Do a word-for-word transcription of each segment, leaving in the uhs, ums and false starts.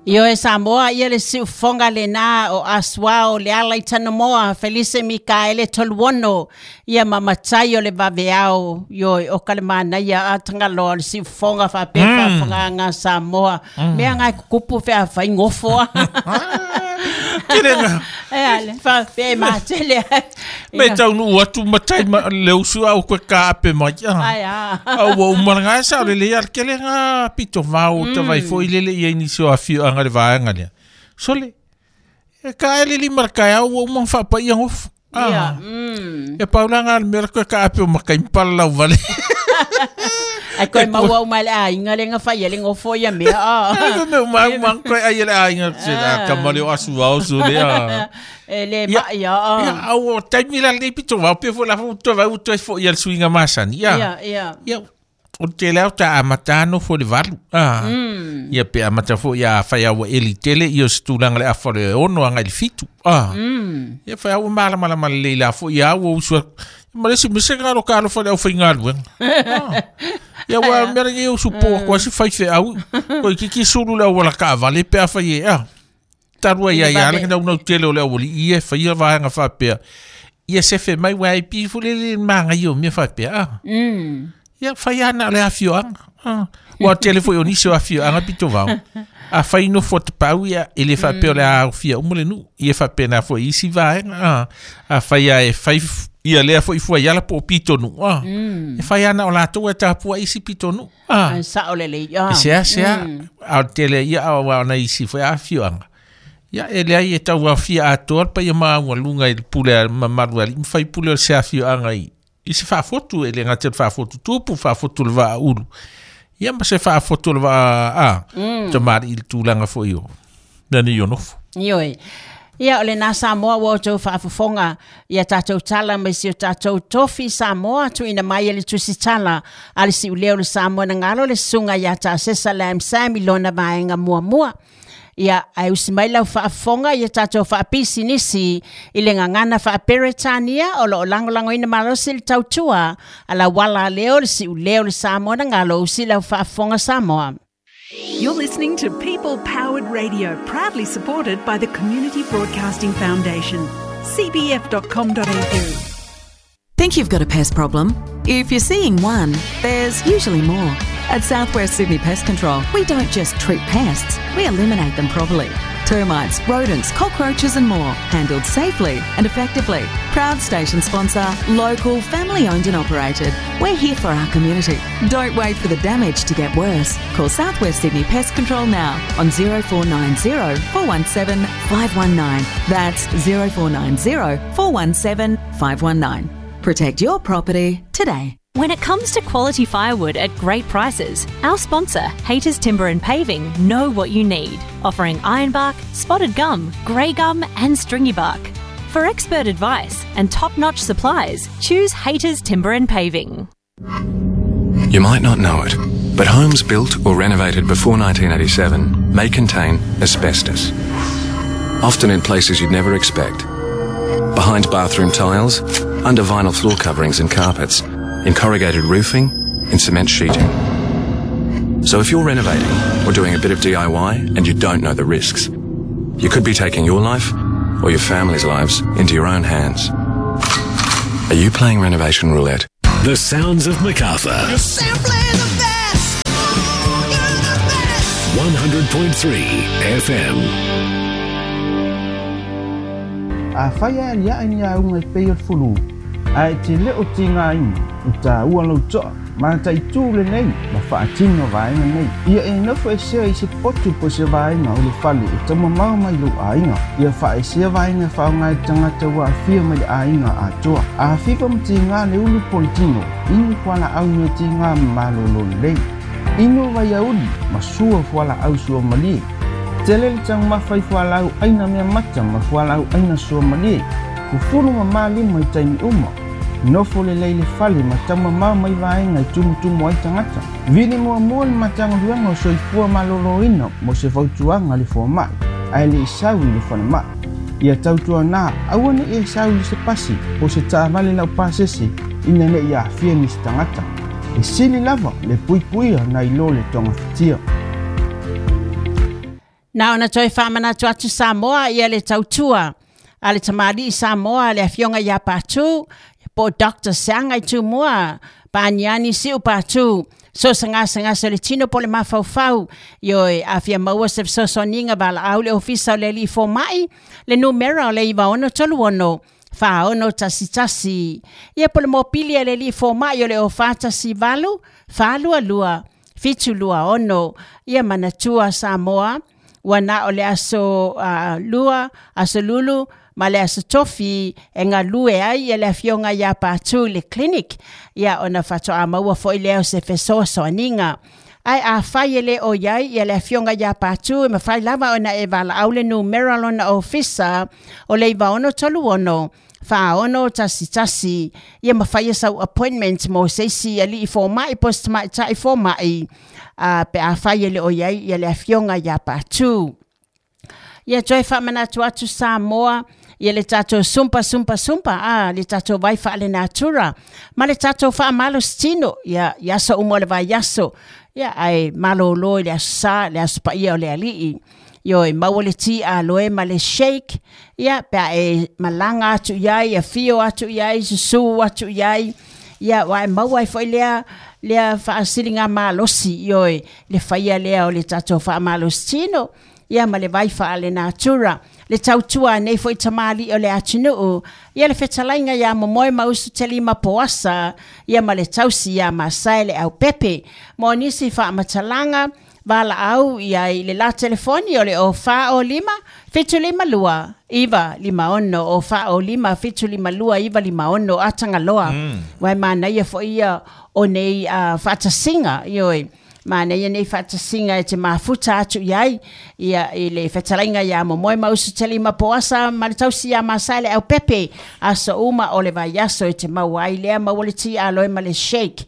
Io e Samoa ia le siufoga lena o Asuao le ala i Tanamoa Felise Mikaele Toluono ia mamatai o le vaveao io o kalemanaia a tangaloa le siufoga faapea faafofogaaga Samoa mea gai kukupu feafai gofoa Kelenga. E ale faapea matele Me taunuu atu matai ma le usu au koe kaape mai. Ai a. Au ua umalaga e sao lelei a le kelega pito vao tavai foʻi lele ia i nisi o afioaga le vaega lea. Sole, e kaele lima le kaeao ua uma ona faapaia gofu. Ia. E paulaga le mea le koe kaape o makai ma palalau vale. Ai koe maua uma le aiga le gafaia le gofo ia mea a. Me uma uma koe ai le aiga se a kamale o asu ao su le a. E le mai a. Ia au o taimi la le pito vao pe fo la fo to vai to fo ia le suiga masani. Ia. Ia ia. Ia o te leo ta amata no fo le valu. Ah. Ia pe amata fo ia fai au eli tele ia se tulaga le afa le ono agai le fitu. Ah. Ia fai au malamalama lelei la fo ia au usu ma le isi mea se galo ka alofa le aufaigaluega. Ia ua mea lenei usu po atu ai se faifeau koe kiki sulu le auala kaavale pe afai e a. Talu ai ai ala naunau tele o le aualii ia e faia vaega faapea. Ia sefe mai ua ai pi fo le le magai o mea faapea a. Ia fai ana o le afioaga. Ua tele foi o nisi o afioaga pito vao. Afai nofo tapau ia e le faapea o le aofia uma le nuu. Ia faapena foi isi vaega. Afai a e fai ia lea foi fuaiala po o pitonuu a. E fai ana o latou e tapua isi pitonuu a. Ai sao lelei a. E seasea a o le tele ia aua ona isi foi afioaga. Ia e leai e tauaofia atoa le paia maualuga i le pule a mamalu e alii ma faipule o se afioaga i i se faafotu e le gata i le faafotu tupu faafotu le vaaulu. Ia ma se faafotu o le vaa a tamalii i le tulaga foi o mea nei o nofo. Ioe. Ia o lena Samoa ua outou faafofoga ia tatou tala mai si o tatou tofi Samoa tuuina mai e le tusitala a le siuleo le Samoa na galo le susuga ia Taasesa Lam Sam i lona vaega muamua. Ia ae usi mai lau faafofoga ia tatou faapisinisi i le gagana faaperetania o loo lagolagoina malosi le tautua a lauala leo le siuleo le Samoa na galo usi lau faafofoga Samoa. You're listening to People Powered Radio, proudly supported by the Community Broadcasting Foundation, c b f dot com dot a u. Think you've got a pest problem? If you're seeing one, there's usually more. At Southwest Sydney Pest Control, we don't just treat pests, we eliminate them properly. Termites, rodents, cockroaches and more, handled safely and effectively. Proud station sponsor, local, family owned and operated. We're here for our community. Don't wait for the damage to get worse. Call Southwest Sydney Pest Control now on zero four nine zero, four one seven, five one nine. That's zero four nine zero, four one seven, five one nine. Protect your property today. When it comes to quality firewood at great prices, our sponsor, Hayters Timber and Paving, know what you need, offering ironbark, spotted gum, grey gum and stringy bark. For expert advice and top-notch supplies, choose Hayters Timber and Paving. You might not know it, but homes built or renovated before nineteen eighty-seven may contain asbestos, often in places you'd never expect. Behind bathroom tiles, under vinyl floor coverings and carpets, in corrugated roofing, in cement sheeting. So if you're renovating or doing a bit of D I Y and you don't know the risks, you could be taking your life or your family's lives into your own hands. Are you playing renovation roulette? The sounds of Macarthur. You're simply the best. You're the best. one hundred point three F M. A whaia ali a ni a unga i pei o le fulu. A e te leo ti ngā ina, o tā ua lau toa, ma tai tū le nei, ma whaatino vaenga nei. Ia e nofo e sea i se potu po se vaenga o le fale e taumamao mai lou aiga. Ia whaesea vaenga whaonga e tangata ua awhia mai le aiga atoa. A whiwa ma ti ngā le ulu politino, inu fuala au mea ti ngā malolo lelei. Inu vai auli, ma sua fuala au sua malie. Tele le taumafa i fualau aina mea mata ma fualau aina sua malie. Fufulu ma malima i taimi uma. Nofo le lei le fale ma taumamao mai vaenga i tumutumu ai tangata. Vili muamua le matagaluega o soifua maloloina mo se fautuaga le foamai, ae le isau i le falemai. Ia tautuanā aua neʻi e sau i se pasi po se taavale laupasese ina neʻi aafia nisi tagata. E sili lava le puipuia nai lo le togafitia. Na ona toe faamanatu atu Samoa ia le tautua a le tamalii Samoa le afioga ia Patu po Doctor Seaga i Tumua Paniani Siu Patu so sagasagasa le tino po le mafaufau ioe afia maua se fesoasoaniga valaau le ofisa o le alii fomai le numera o le iva ono tolu ono faono tasi tasi ia po le mopili a le alii fomai o le ofa tasi valu falua lua fitu lua ono ia manatua Samoa ua na o le aso uh, lua aso lulu ma le aso tofi e galue ai ia le afioga ia Patu le clinic ia ona faatoa maua fo'i lea o se fesoasoaniga ae afai e lē o iai ia le afioga ia Patu e mafai lava ona e valaau le numera lona ofisa o le iva ono tolu ono faono tasi tasi ia mafai e sau appointment mo se isi alii fomai po o se tamaita'i fomai a pe afai e le o iai ia le afioga ia Patu. Ia toe faamanatu atu Samoa ia le tatou sumpa sumpa sumpa a le tatou vai faalenatura ma le tatou faamalositino ia i aso uma o le vaiaso ia ae malōlō i le aso sā le aso paia o le alii ioe maua le ti aloe ma le shake ia pe a e malaga atu iai afio atu iai susū atu iai ia ua e maua ai fo'i lea lea faasiliga malosi ioe le faia lea o le tatou faamalositino ia ma le vai faalenatura le tautua nei fo'i tamalii o le atunuu ia le fetalaiga iā Momoe ma Usutelima Poasa ia ma le tausi iā Masae le Aupepe mo nisi faamatalaga valaau ia i le la telefoni o le o fa o lima fitu lima lua iva lima ono o fa o lima fitu lima lua iva lima ono atagaloa mm. Uae manaia fo'i ia o nei uh, faatasiga ioe manaia nei faatasiga e te mafuta atu iai ia i le fetalaiga iā Momoe ma Usutelima Poasa ma le tausi iā Masae le Aupepe aso uma o le vaiaso e te maua ai lea maua le ti aloe ma le shake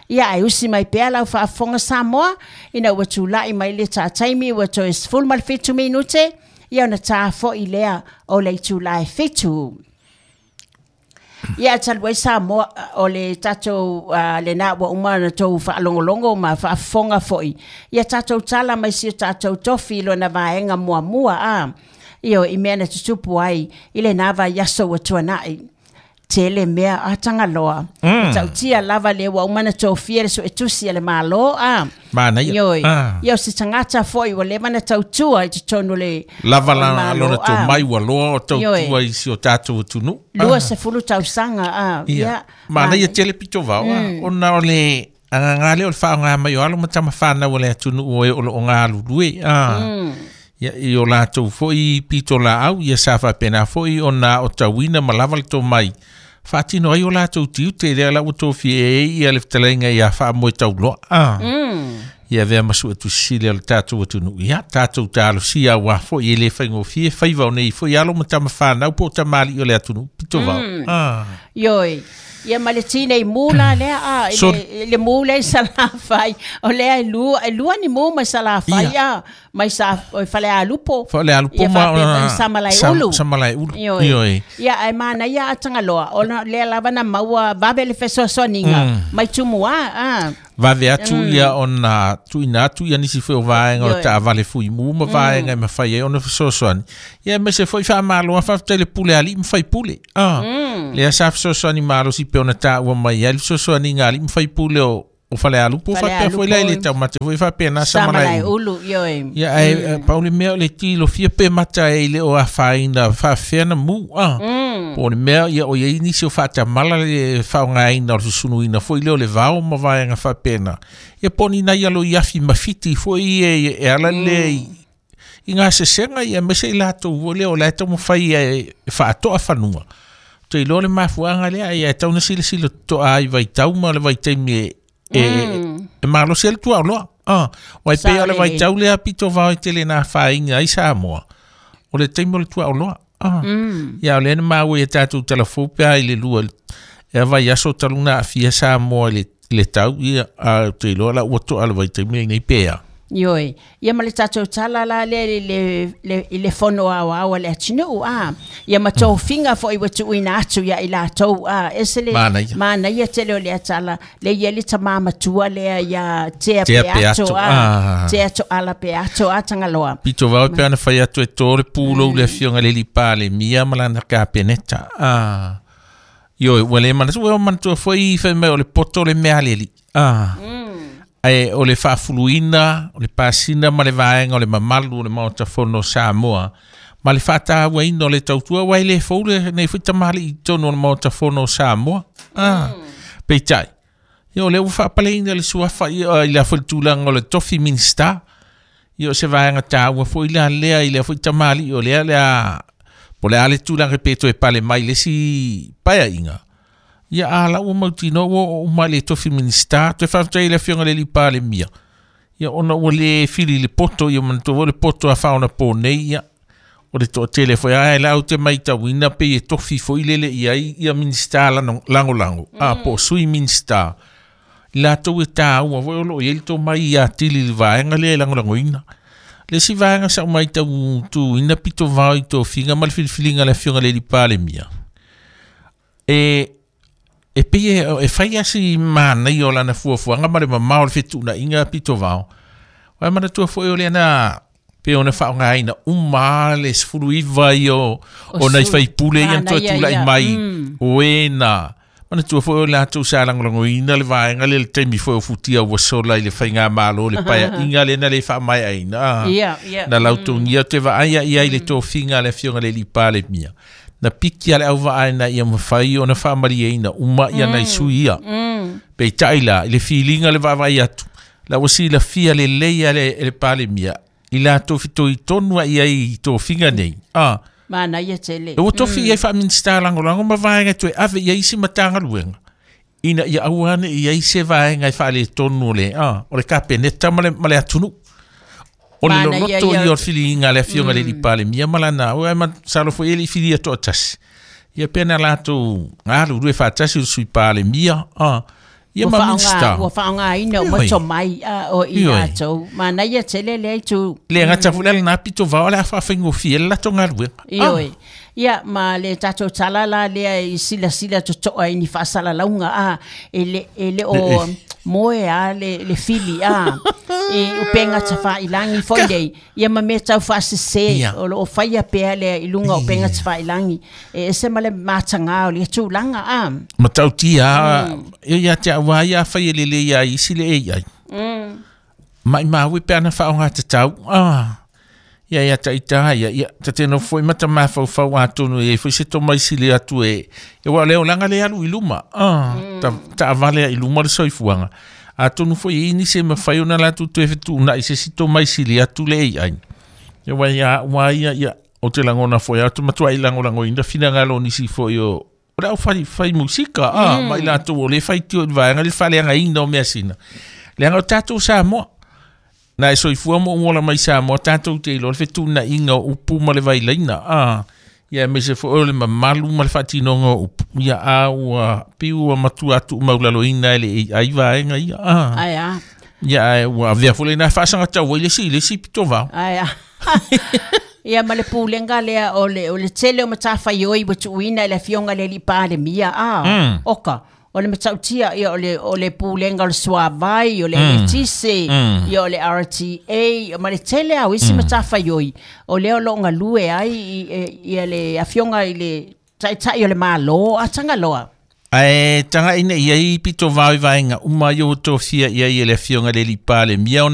ia ae usi mai pea lau faafofoga Samoa ina ua tula'i mai le tataimi ua toe sefulu ma le fitu minute ia ona tā fo'i lea o le itulā e fitu. Ia talu ai Samoa o le tatou uh, lenā ua uma ona tou faalogologo ma faafofoga fo'i ia tatou tala mai si o tatou tofi lona vaega muamua a io i mea na tutupu ai i lenā vaiaso ua tuana'i tele mea atagaloa mm. Tautia lava le ua uma na tofia le suetusi a le Mālō a manaia ioe ia o se tagata fo'i ua leva na tautua i totonu le lava la lona tomai ua loa o tautua i si o tatou atunuu lua sefulu tausaga a ia manaia tele pito vao ona o le agaga lea o le faaaoga mai o alo ma tamafanau o le atunuu e o loo galulue a ia i o latou fo'i pito laau ia sa faapena fo'i ona o tauina ma lava le tomai faatino ai o latou tiute lea la ua tofia e ia le fetalaiga ia faamoe tauloa a ia avea ma suetusi o le tatou atunuu ia tatou talosia auā fo'i e lē faigofie faiva o nei fo'i alo ma tamafanau po o tamalii o le atunuu pito vao a ioe ia ma le tinei mu la lea a le, le mu lea i Salafai o lea e lua e lua ni mu mai Salafai a mai sa Falealupo Falealupo ma ona Samalaeulu Samalaeulu ioe ia ae manaia atagaloa ona lea lava na maua vave le fesoasoaniga mai Tumua a vave atu ia ona tuuina atu ia nisi foi o vaega o taavale fuimu ma vaega e mafai ai ona fesoasoani ia aemaise foi faamalo faafetai le pule a alii ma faipule a lea sa fesoasoani malosi pe ona taua mai ai le fesoasoaniga a alii ma faipule o o Falealupo faapea foi la i le taumate foi faapena Samalaeulu ioe ia ae pau le mea o le tilofia pe mata e le o afaina faafefea na mu a po o le mea ia o iai nisi o faatamala le faaaogaina o le susunuina foi lea o le vao ma vaega faapena ia po o ni nai alo i afi mafiti foi e e ala lea i gasesega ia aemaise i latou foi lea o lae taumafai e faatoa fanua te iloa le mafuaga lea ia e tau na silasila totoa ai vaitau ma le vaitaimi e e e malosi ai le tuaoloa ah uae pei o le vaitau lea pito vao i tele na afaina ai Samoa o le taimi o le tuaoloa ah ia o lea na maua ia tatou talafou pe a i le lua e vaiaso talu na aafia Samoa i le tau ia a te iloa la ua toa le vaitaimi lenei pea. Ioe, ia ma le tatou tala la le le le le fono au au le atinu a ia ma tofinga foi ua tuuina atu ia i latou a ese le manaia tele o le tala le ia le tama matua lea ia tea peato a tea to ala peato a Tagaloa. Pito vao pe ana fai atu e tō le pūlou le afioga le Palemia ma lana kapeneta a ioe ua le manatua ua manatua foi fai mai o le poto le mea leli a ae o le faafuluina o le pasina ma le vaega o le mamalu o le Maota Fono o Samoa ma le faatauaina o le tautua ua e le fou lenei foi tamalii i totonu o le Maota Fono o Samoa a peitai ia o lea ua faapaleina le suafa ia i le foi tulaga o le tofi minista ia o se vaega taua foi la lea i le foi tamalii o lea lea po le a le tulaga pe toe pale mai le isi paeaiga ia a la ua mautinoa ua oo uma i le tofi minista toe faafetai i le afioga i le Palemia ia ona ua le fili le poto ia manatua foi le poto a faaonapo nei ia o le toatele foi ae la ou te matauina pei e tofi foi lele i ai ia minista lagolago a po o sui minista i latou e taua foi o loo i ai le tomai ia tili i le vaega lea e lagolagoina le isi vaega sa ou matau tuuina pito vao i tofiga ma le filifiliga a le afioga i le Palemia e e pei e fai asi manaia o lana fuafuaga ma le mamao o le fetuunaiga pito vao ae manatua foi o lea na pe ona faaaogaina uma le sefulu iva ia o nai faipule ia na toe tulai mai o e na manatua foi o latou sa lagolagoina le vaega lea le taimi foi o futia ua sola i le faigamalo le paeaiga lea na le faamaeaina na lautogia te vaaia ia i le tofiga a le afioga i le Palemia na piki a le auvaa ina ia mafai ona faamalieina uma ia nai sui ia peitai la i le filiga le vaavaai atu la ua silafia lelei a le le Palemia i latou fitoitonu ai i tofiga nei a manaia tele ua tofi i ai faaminista lagolago ma vaega toe ave i ai isi matagaluega ina ia aua ne i ai se vaega e faaletonu o le a o le kapeneta ma le ma le atunuu o le loloto ia o le filiga a le afioga i le Palemia ma lana ua ma salo foi e le i filia toatasi ia pe na latou galulue faatasi o le sui Palemia a ia ma minista ua faaaogaina o matomai a o i latou manaia tele lea itu le gata foi le na pito vao le a faafaigofie le latou galuega ioe ia ma le tatou tala la lea i silasila totoa i ni faasalalauga a e le e le o moe a le le fili a e upenga tafailangi foi nei ia ma mea tau faasese o loo faia pea lea i luga o upenga tafailangi e ese ma le mataga o le tulaga a matautia ia te au ia fai e lelei ai isi le A I maimau pe ana faaaogatatau a ia ia taita ia ia tate no foi mata mafaufau atonu e foi se tomai sili atu e e ua le olaga le alu i luma a ta taavale i luma le soifuaga atonu foi e ini se mafai ona latou toe fetuunai se si tomai sili atu le A I ia ua ia ua ia ia o te lagona foi atu matuai lagolagoina finagalo o nisi foi o o le aufai fai musika a ma i latou o le faitio i le vaega le faaleagaina o measina leaga o tatou Samoa na e soifua mo ola mai Samoa tatou te iloa le fetuunaiga o upu ma le vailaina a ia aemaise foi o le mamalu ma le faatinoga o upu ia a ua piu ua matua tuumaulaloina e le A I vaega ia a ai a ia ae ua avea foi lena faasagatau ai le isi i le isi pito vao ai a ia ma le pulega lea o le o le tele o matafaioi ua tuuina i le afioga i le alii Palemia a oka o le matautia ia o le o le pulega o le suavai o le eletise ia o le R T A ma le tele au isi matafaioi o lea o loo galue ai ia le afioga i le taitai o le Malo a Tagaloa ae tagaina i ai pito vao i vaega uma ia ua tofia i ai e le afioga i le alii Palemia ona